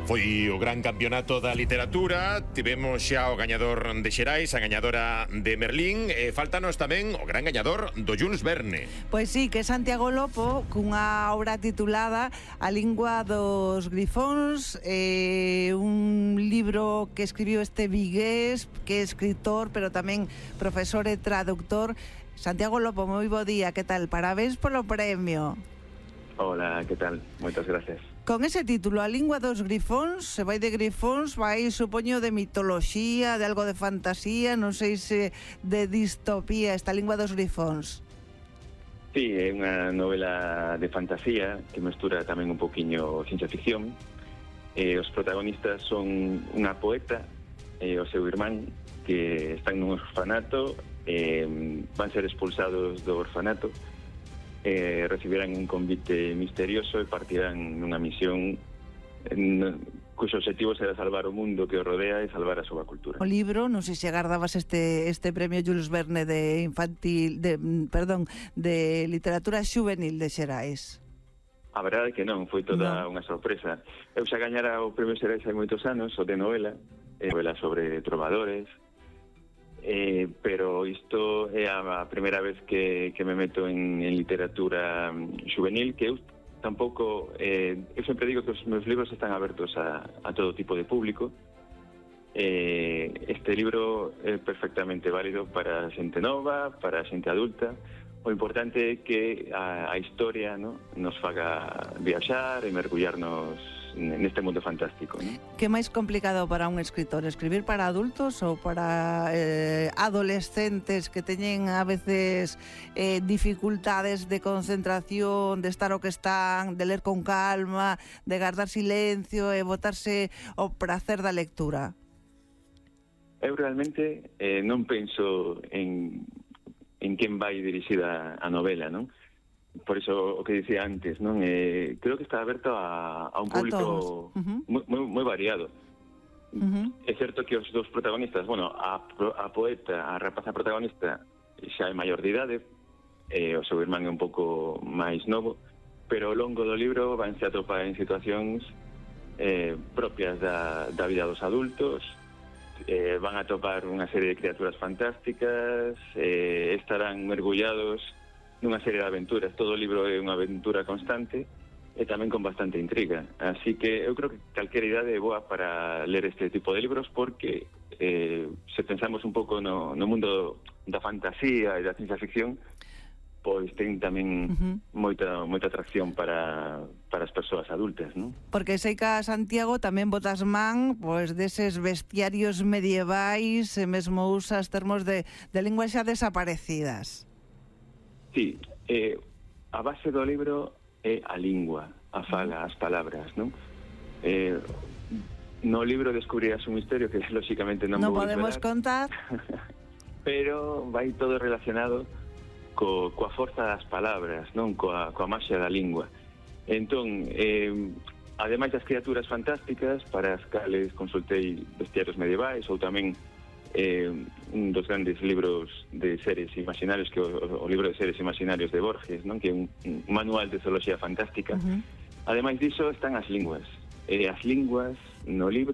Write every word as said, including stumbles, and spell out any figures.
Foi o gran campeonato da literatura, tivemos xa o gañador de Xerais, a gañadora de Merlín, e faltanos tamén o gran gañador do Jules Verne. Pois sí, que é Santiago Lopo, cunha obra titulada A lingua dos grifóns, eh, un libro que escribiu este vigués, que é escritor, pero tamén profesor e traductor. Santiago Lopo, moi bo día, que tal? Parabéns polo premio. Hola, que tal? Moitas gracias. Con ese título, A lingua dos grifóns, se vai de grifóns, vai, supoño, de mitoloxía, de algo de fantasía, non sei se de distopía, esta lingua dos grifóns. Sí, é unha novela de fantasía que mestura tamén un poquinho ciencia ficción. Eh, os protagonistas son unha poeta e o seu irmán que están nun orfanato, eh, van ser expulsados do orfanato, Eh, recibirán un convite misterioso e partirán nunha misión en, cuxo objetivo será salvar o mundo que o rodea e salvar a súa cultura. O libro, non sei se agardabas este este premio Jules Verne de infantil, de perdón, de literatura xuvenil de Xerais. A verdade é que non, foi toda no. unha sorpresa. Eu xa gañara o premio Xerais hai moitos anos, o de novela, eh, novela sobre trovadores. Eh, pero isto é a primeira vez que, que me meto en, en literatura juvenil, que eu tampouco, eh, eu sempre digo que os meus libros están abertos a, a todo tipo de público. Eh, este libro é perfectamente válido para xente nova, para xente adulta. O importante é que a, a historia, ¿no?, nos faga viaxar e mergullarnos neste mundo fantástico, ¿no? Que máis complicado para un escritor, escribir para adultos ou para eh, adolescentes que teñen a veces eh, dificultades de concentración, de estar o que están, de ler con calma, de guardar silencio e botarse o prazer da lectura? Eu realmente eh, non penso en, en quen vai dirixida a novela, non? Por iso o que dicía antes, non? Eh, creo que está aberto a, a un público uh-huh. moi, moi, moi variado. Uh-huh. É certo que os dous protagonistas, bueno, a, a poeta, a rapaza protagonista xa é maior de idade, eh, o seu irmán é un pouco máis novo, pero ao longo do libro vanse a topar en situacións eh, propias da, da vida dos adultos, eh, van a topar unha serie de criaturas fantásticas, eh, estarán mergullados nunha serie de aventuras. Todo o libro é unha aventura constante e tamén con bastante intriga. Así que eu creo que calquera idade é boa para ler este tipo de libros porque eh, se pensamos un pouco no, no mundo da fantasía e da ciencia ficción, pois ten tamén uh-huh. moita, moita atracción para, para as persoas adultas, non? Porque sei que a Santiago tamén botas man pois deses bestiarios medievais e mesmo usas termos de, de linguas xa desaparecidas. Sí, eh, a base do libro é a lingua, a fala, as palabras, non? Eh, no libro descubrirás un misterio que, lóxicamente, non, non vou podemos desvelar, contar. pero vai todo relacionado co, coa forza das palabras, non? Coa, coa maxia da lingua. Entón, eh, ademais das criaturas fantásticas, para as cales consultei bestiarios medievais, ou tamén Eh, un dos grandes libros de seres imaginarios que o, o libro de seres imaginarios de Borges, non? Que é un, un manual de zoología fantástica. Uh-huh. Ademais diso están as linguas. Eh, as linguas no libro